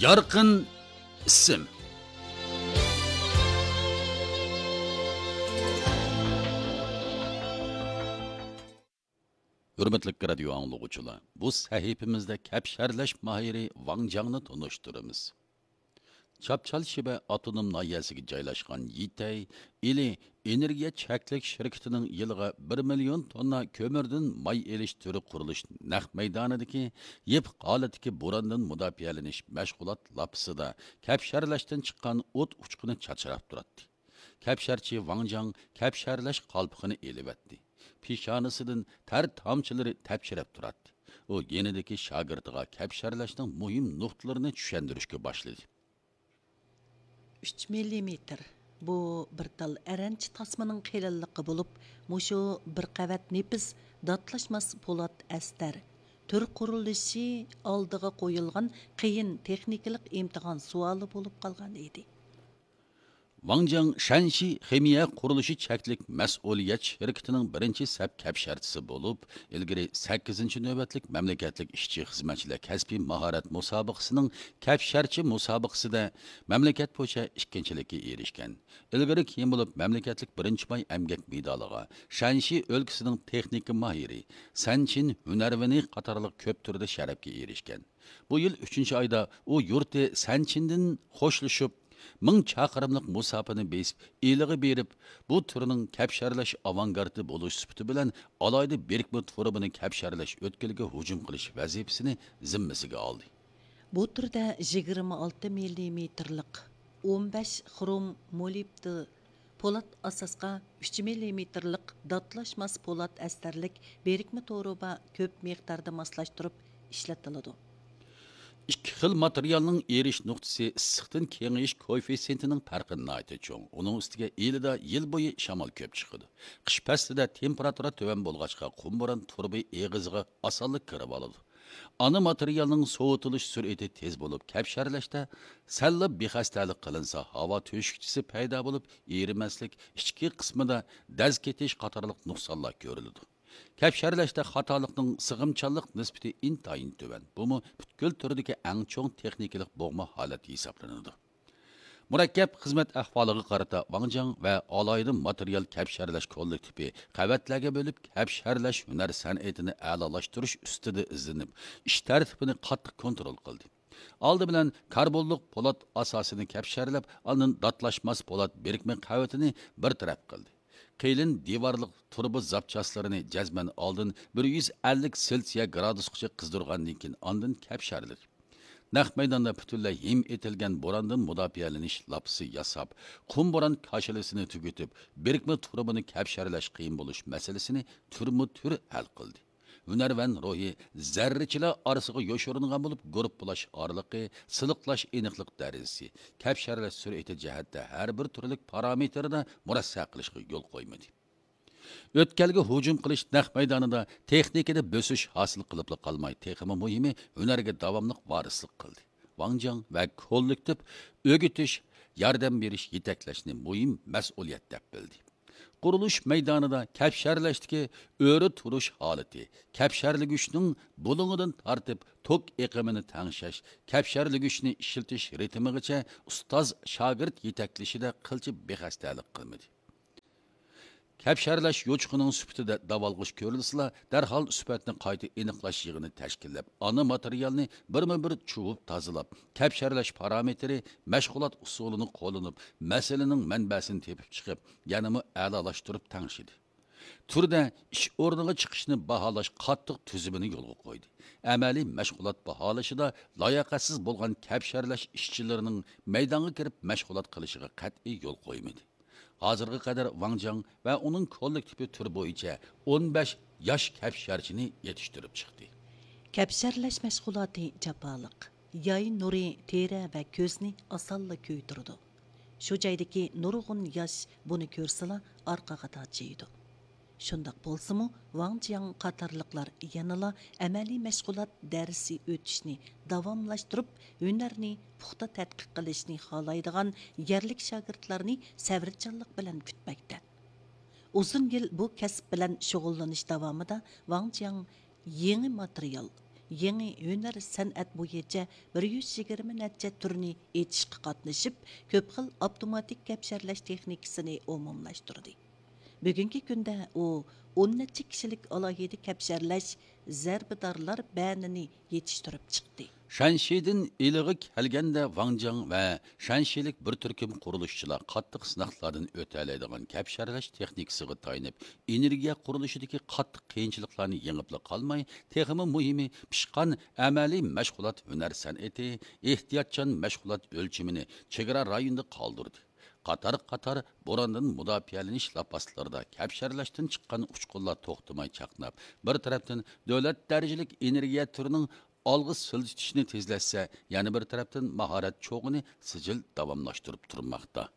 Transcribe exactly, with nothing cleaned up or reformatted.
يارقىن ئىسىم. ھۆرمەتلىك رادىيو ئاڭلىغۇچىلار، بۇ سەھىپىمىزدە كەپشەرلەش ماھىرى ۋاڭ جاڭنى تونۇشتۇرىمىز. چاپچال شىبە ئاپتونوم ناھىيەسىگە جايلاشقان يىتەي ئىلى ئېنېرگىيە چەكلىك شىركىتىنىڭ يىلىغا بىر مىليون توننا كۆمۈردىن ماي ئېلىش تۈرى قۇرۇلۇش نەق مەيدانىدىكى يېپىق ھالەتتىكى بوراندىن مۇداپىئەلىنىش مەشغۇلات لاپىسىدا كەپشەرلەشتىن چىققان ئوت ئۇچقۇنى چاچراپ تۇراتتى. كەپشەرچى ۋاڭ جاڭ كەپشەرلەش قالپىقىنى ئېلىۋەتتى. پېشانىسىدىن تەر تامچىلىرى تەپشىرەپ تۇراتتى. ئۇ يېنىدىكى شاگىرتىغا كەپشەرلەشنىڭ مۇھىم نۇقتىلىرىنى چۈشەندۈرۈشكە باشلىدى. ئۈچ مىللىمېتىر. بۇ بىر تال ئەرەنچە تاسمىنىڭ قېلىنلىقى بولۇپ، مۇشۇ بىر قەۋەت نېپىز داتلاشماس پولات ئەستەر. تۈر قۇرۇلۇشى ئالدىغا قويۇلغان قىيىن تېخنىكىلىق ئىمتىھان سوئالى بولۇپ قالغان ئىدى. ۋاڭ جاڭ شەنشى خىمىيە قۇرۇلۇشى چەكلىك مەسئۇلىيەت شىركىتىنىڭ بىرىنچى سەپ كەپشەرچىسى بولۇپ، ئىلگىرى سەككىزىنچى نۆۋەتلىك مەملىكەتلىك ئىشچى خىزمەتچىلەر كەسپىي ماھارەت مۇسابىقىسىنىڭ كەپشەرچى مۇسابىقىسىدە مەملىكەت بويىچە ئىككىنچىلىككە ئېرىشكەن. ئىلگىرى كېيىن بولۇپ مەملىكەتلىك بىرىنچى پاي ئەمگەك مېدالىغا، شەنشى ئۆلكىسىنىڭ تېخنىكا ماھىرى سەن چىن ھۈنەرۋېنى قاتارلىق كۆپ تۈردە شەرەپكە ئېرىشكەن. بۇ يىل ئۈچىنچى ئايدا ئۇ يۇرتى سەنچىندىن خوشلىشىپ، مىڭ چاقىرىملىق مۇساپىنى بېسىپ، ئىلىغا بېرىپ، بۇ تۈرنىڭ كەپشەرلەش ئاۋانگارتى بولۇش سۈپىتى بىلەن ئالاھىدە بىرىكمە تۇرۇبىنى كەپشەرلەش ئۆتكىلىگە ھۇجۇم قىلىش ۋەزىپىسىنى زىممىسىگە ئالدى. بۇ تۈردە يىگىرمە ئالتە مىللىمېتىرلىق ئون بەش خروم مولىبدېن پولات ئاساسقا ئۈچ مىللىمېتىرلىق داتلاشماس پولات ئەستەرلىك بىرىكمە تۇرۇبا كۆپ مىقداردا ماسلاشتۇرۇپ ئىشلىتىلىدۇ. ئىككى خىل ماتېرىيالنىڭ ئېرىش نۇقتىسى ئىسسىقتىن كېڭىيىش كوئېففىتسېنتىنىڭ پەرقى ناھايىتى چوڭ. ئۇنىڭ ئۈستىگە ئىلىدا يىل بويى شامال كۆپ چىقىدۇ. قىش پەسلىدە تېمپېراتۇرا تۆۋەن بولغاچقا، قۇم بوران تۇرۇبا ئېغىزىغا ئاسانلا كىرىۋالىدۇ. ئانا ماتېرىيالنىڭ سوۋۇتۇلۇش سۈرئىتى تېز بولۇپ، كەپشەرلەشتە سەللا بىخەستەلىك قىلىنسا، ھاۋا تۆشۈكچىسى پەيدا بولۇپ، ئېرىمەسلىك، ئىچكى قىسمىدا دەز كېتىش قاتارلىق نۇقسانلار كۆرۈلىدۇ. كەپشەرلەشتە خاتالىقنىڭ سىغىمچانلىق نىسبىتى ئىنتايىن تۆۋەن. بۇمۇ پۈتكۈل تۈردىكى ئەڭ چوڭ تېخنىكىلىق بوغما ھالەت ھېسابلىنىدۇ. مۇرەككەپ خىزمەت ئەھۋالىغا قارىتا ۋاڭ جاڭ ۋە ئالاھىدە ماتېرىيال كەپشەرلەش كوللېكتىپى قەۋەتلەرگە بۆلۈپ، كەپشەرلەش ھۈنەر سەنئىتىنى ئەلالاشتۇرۇش ئۈستىدە ئىزدىنىپ، ئىش تەرتىپىنى قاتتىق كونترول قىلدى. ئالدى بىلەن كاربونلۇق پولات ئاساسىنى كەپشەرلەپ، ئاندىن داتلاشماس پولات بىرىكمە قەۋىتىنى بىر تەرەپ قىلدى. قېلىن دىۋارلىق تۇرۇبا زاپچاسلىرىنى جەزمەن ئالدىن بىر يۈز ئەللىك سېلسىيە گرادۇسقىچە قىزدۇرغاندىن كېيىن، ئاندىن كەپشەرلىدى. نەق مەيداندا پۈتۈنلەي ھىم ئېتىلگەن بوراندىن مۇداپىئەلىنىش لاپىسى ياساپ، قۇم بوران كاشىلىسىنى تۈگىتىپ، بىرىكمە تۇرۇبىنى كەپشەرلەش قىيىن بولۇش مەسىلىسىنى تۈرمۇ تۈر ھەل قىلدى. ھۈنەرۋەن روھى زەررىچىلەر ئارىسىغا يوشۇرۇنغان بولۇپ، گۇرۇپپىلاش ئارىلىقى، سىلىقلاش ئېنىقلىق دەرىجىسى، كەپشەرلەش سۈرئىتى جەھەتتە ھەر بىر تۈرلۈك پارامېتىردا مۇرەسسە قىلىشقا يول قويمىدى. ئۆتكەلگە ھۇجۇم قىلىش نەق مەيدانىدا تېخنىكىدا بۆسۈش ھاسىل قىلىپلا قالماي، تېخىمۇ مۇھىمى، ھۈنەرگە داۋاملىق ۋارىسلىق قىلدى. ۋاڭ جاڭ ۋە كوللېكتىپ ئۆگىتىش، ياردەم بېرىش، يېتەكلەشنى مۇھىم مەسئۇلىيەت دەپ بىلدى. قۇرۇلۇش مەيدانىدا كەپشەرلەشتىكى ئۆرە تۇرۇش ھالىتى، كەپشەرلىگۈچنىڭ بۇلۇڭىدىن تارتىپ توك ئېقىمىنى تەڭشەش، كەپشەرلىگۈچنى ئىشلىتىش رىتىمىغىچە ئۇستاز شاگىرت يېتەكلىشىدە قىلچە بىخەستەلىك قىلمىدى. كەپشەرلەش يوچۇقىنىڭ سۈپىتىدە داۋالغۇش كۆرۈلسىلا، دەرھال سۈپەتنى قايتا ئېنىقلاش يىغىنى تەشكىللەپ، ئانا ماتېرىيالنى بىرمۇ بىر چۇۋۇپ تازىلاپ، كەپشەرلەش پارامېتىرى، مەشغۇلات ئۇسۇلىنى قوللىنىپ، مەسىلىنىڭ مەنبەسىنى تېپىپ چىقىپ، يەنىمۇ ئەلالاشتۇرۇپ تەڭشىدى. تۈردە ئىش ئورنىغا چىقىشنى باھالاش قاتتىق تۈزۈمىنى يولغا قويدى. ئەمەلىي مەشغۇلات باھالىشىدا لاياقەتسىز بولغان كەپشەرلەش ئىشچىلىرىنىڭ مەيدانغا كىرىپ مەشغۇلات قىلىشىغا قەتئىي يول قويمىدى. ھازىرغا قەدەر ۋاڭ جاڭ ۋە ئۇنىڭ كوللېكتىپى تۈر بويىچە ئون بەش ياش كەپشەرچىنى يېتىشتۈرۈپ چىقتى. كەپشەرلەش مەشغۇلاتى جاپالىق. ياي نۇرى تېرە ۋە كۆزنى ئاسانلا كۆيدۈرىدۇ. شۇ جايدىكى نۇرغۇن ياش بۇنى كۆرسىلا ئارقىغا تاجىيىدۇ. شۇنداق بولسىمۇ، ۋاڭ جياڭ قاتارلىقلار يەنىلا ئەمەلىي مەشغۇلات دەرسى ئۆتۈشنى داۋاملاشتۇرۇپ، ھۈنەرنى پۇختا تەتقىق قىلىشنى خالايدىغان يەرلىك شاگىرتلارنى سەۋرچانلىق بىلەن كۈتمەكتە. ئۇزۇن يىل بۇ كەسىپ بىلەن شۇغۇللىنىش داۋامىدا ۋاڭ جياڭ يېڭى ماتېرىيال، يېڭى ھۈنەر سەنئەت بويىچە بىر يۈز يىگىرمە نەچچە تۈرنى ئېچىشقا قاتنىشىپ، كۆپ خىل ئاپتوماتىك كەپشەرلەش تېخنىكىسىنى ئومۇملاشتۇردى. بۈگۈنكى كۈندە ئۇ ئون نەچچە كىشىلىك ئالاھىدە كەپشەرلەش زەربىدارلار بەنىنى يېتىشتۈرۈپ چىقتى. شەنشىدىن ئىلىغا كەلگەندە، ۋاڭجاڭ ۋە شەنشىلىك بىر تۈركۈم قۇرۇلۇشچىلار قاتتىق سىناقلاردىن ئۆتەلەيدىغان كەپشەرلەش تېخنىكىسىغا تايىنىپ، ئېنېرگىيە قۇرۇلۇشىدىكى قاتتىق قىيىنچىلىقلارنى يېڭىپلا قالماي، تېخىمۇ مۇھىمى، پىشقان ئەمەلىي مەشغۇلات ھۈنەر سەنئىتى، ئېھتىياتچان مەشغۇلات ئۆلچىمىنى چېگرا رايونىدا قالدۇردى. قاتار-قاتار بوراندىن مۇداپىئەلىنىش لاپاسلىرىدا كەپشەرلەشتىن چىققان ئۇچقۇنلار توختىماي چاقناپ، بىر تەرەپتىن دۆلەت دەرىجىلىك ئېنېرگىيە تۈرىنىڭ ئالغا سىلجىتىشىنى تېزلەتسە، يەنە بىر تەرەپتىن ماھارەت چوغىنى سىجىل داۋاملاشتۇرۇپ تۇرماقتا.